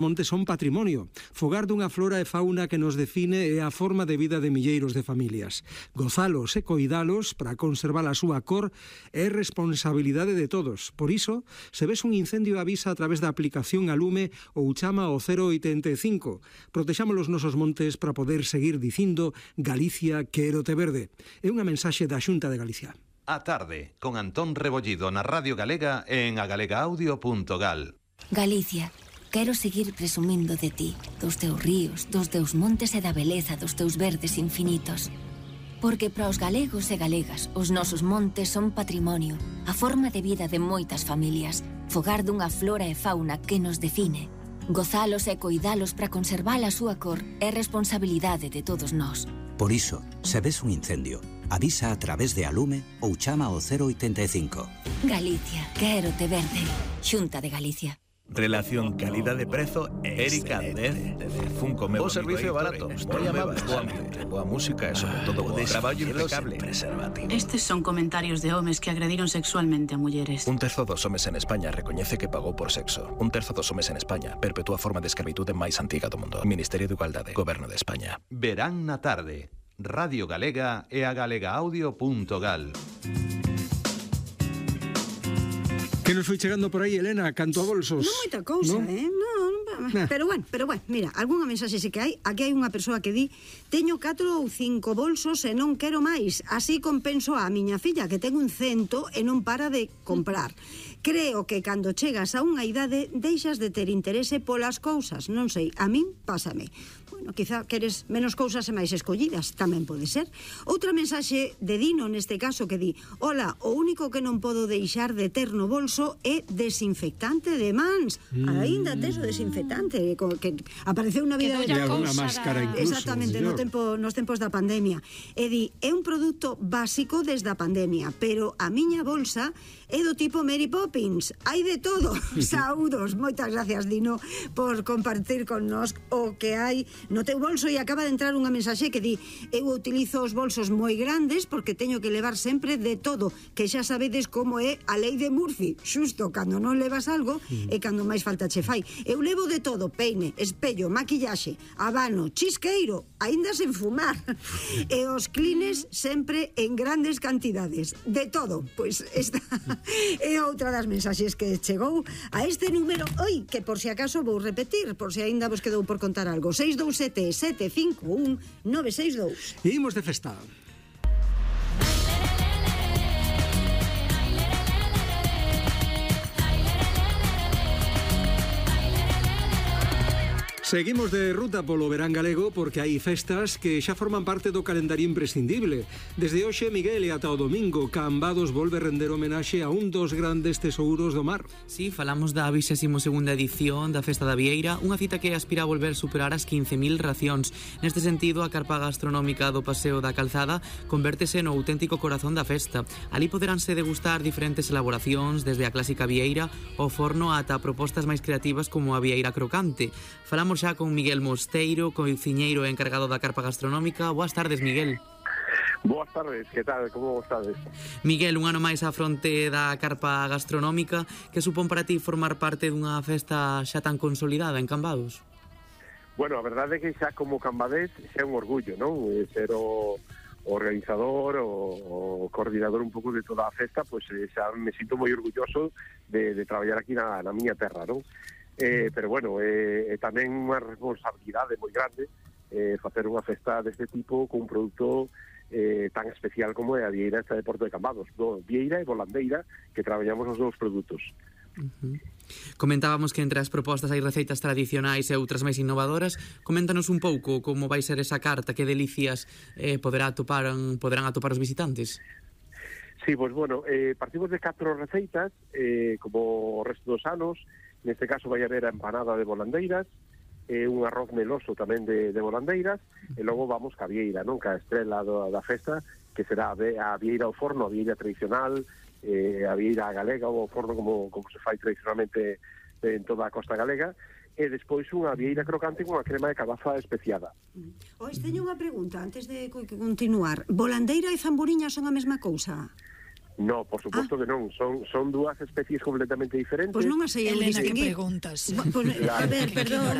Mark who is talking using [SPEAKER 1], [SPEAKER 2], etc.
[SPEAKER 1] Montes son patrimonio, fogar dunha flora e fauna que nos define e a forma de vida de milleiros de familias. Gozalos e coidalos para conservar a súa cor é responsabilidade de todos. Por iso, se ves un incendio avisa a través da aplicación a Lume ou chama ao 085. Protexamos os nosos montes para poder seguir dicindo Galicia quérote verde. É unha mensaxe da Xunta de Galicia.
[SPEAKER 2] A tarde, con Antón Rebollido na Radio Galega e en agalegaaudio.gal.
[SPEAKER 3] Galicia. Quero seguir presumindo de ti, dos teus ríos, dos teus montes e da beleza dos teus verdes infinitos. Porque para os galegos e galegas, os nosos montes son patrimonio, a forma de vida de moitas familias, fogar dunha flora e fauna que nos define. Gozalos e coidalos para conservar a súa cor é responsabilidade de todos nós.
[SPEAKER 4] Por iso, se ves un incendio, avisa a través de Alume ou chama ao 085.
[SPEAKER 3] Galicia, quérote verde. Xunta de Galicia.
[SPEAKER 5] Relación calidade-prezo, Erika Aldez, Funko meu.
[SPEAKER 6] O servicio barato, moi amable, boa música e sobre todo boa traballo impecable.
[SPEAKER 7] Estes son comentarios de homes que agrediron sexualmente a mulleres.
[SPEAKER 6] Un terzo dos homes en España recoñece que pagou por sexo. Un terzo dos homes en España perpetúa a forma de escravitude máis antiga do mundo. Ministerio de Igualdade, Goberno de España.
[SPEAKER 2] Verán na tarde, Radio Galega e agalegaaudio.gal.
[SPEAKER 1] Que nos foi chegando por aí, Elena, canto a bolsos?
[SPEAKER 8] Non moita cousa,
[SPEAKER 1] ¿no?
[SPEAKER 8] Pero bueno, mira, algunha mensaxe sí que hai. Aquí hai unha persoa que di: teño 4 ou 5 bolsos e non quero máis. Así compenso a miña filla, que ten un 100 e non para de comprar. Creo que cando chegas a unha idade deixas de ter interese polas cousas. Non sei, a min pásame. Bueno, quizá queres menos cousas e máis escollidas, tamén pode ser. Outra mensaxe de Dino, neste caso, que di: hola, o único que non podo deixar de ter no bolso é desinfectante de mans. Aínda tes o desinfectante que apareceu na vida
[SPEAKER 1] de alguna máscara incluso.
[SPEAKER 8] Exactamente, nos tempos da pandemia. E di: é un produto básico desde a pandemia, pero a miña bolsa é do tipo Mary Poppins. Hai de todo. Saúdos. Moitas gracias, Dino, por compartir con nós o que hai no teu bolso. E acaba de entrar unha mensaxe que di: eu utilizo os bolsos moi grandes porque teño que levar sempre de todo, que xa sabedes como é a lei de Murphy. Xusto cando non levas algo e cando máis falta che fai. Eu levo de todo: peine, espello, maquillaxe, habano, chisqueiro, aínda sen fumar. E os clines sempre en grandes cantidades. De todo. Pois esta é outra das mensaxes que chegou a este número. Oi, que por si acaso vou repetir, por si aínda vos quedou por contar algo: 627-751-962.
[SPEAKER 1] E imos de festa. Seguimos de ruta polo verán galego porque hai festas que xa forman parte do calendario imprescindible. Desde hoxe, Miguel, e ata o domingo, Cambados volve render homenaxe a un dos grandes tesouros do mar.
[SPEAKER 9] Sí, falamos da 22ª edición da Festa da Vieira, unha cita que aspira a volver superar as 15.000 racións. Neste sentido, a carpa gastronómica do Paseo da Calzada convértese no auténtico corazón da festa. Ali poderánse degustar diferentes elaboracións, desde a clásica vieira ao forno ata propostas máis creativas como a vieira crocante. Falamos xa con Miguel Mosteiro, cociñeiro encargado da carpa gastronómica. Boas tardes, Miguel.
[SPEAKER 10] Boas tardes, que tal? Como estades?
[SPEAKER 9] Miguel, un ano máis á fronte da carpa gastronómica. Que supón para ti formar parte dunha festa xa tan consolidada en Cambados?
[SPEAKER 10] Bueno, a verdade é que xa como cambadés xa é un orgullo, non? Ser o organizador, o coordinador un pouco de toda a festa, pois xa me sinto moi orgulloso de traballar aquí na miña terra, non? Pero bueno, tamén unha responsabilidade moi grande facer unha festa deste tipo con un produto tan especial como é a vieira esta de Porto de Cambados, vieira e volandeira, que traballamos os dous produtos.
[SPEAKER 9] Comentábamos que entre as propostas hai receitas tradicionais e outras máis innovadoras. Coméntanos un pouco como vai ser esa carta, que delicias poderán atopar os visitantes.
[SPEAKER 10] Sí, pois bueno, partimos de 4 receitas, como o resto dos anos. Neste caso vai haber a empanada de volandeiras, un arroz meloso tamén de volandeiras, e logo vamos ca vieira, non? Ca estrela da festa, que será a vieira ao forno, a vieira tradicional, a vieira galega ou ao forno como se fai tradicionalmente en toda a costa galega, e despois unha vieira crocante con unha crema de cabaza especiada.
[SPEAKER 8] Teño unha pregunta antes de continuar. Volandeira e zamburiña son a mesma cousa?
[SPEAKER 10] No, por suposto que non, son dúas especies completamente diferentes.
[SPEAKER 8] Pois non as sei eu
[SPEAKER 11] Elena, que
[SPEAKER 8] distinguir.
[SPEAKER 11] preguntas?
[SPEAKER 8] A ver, perdón.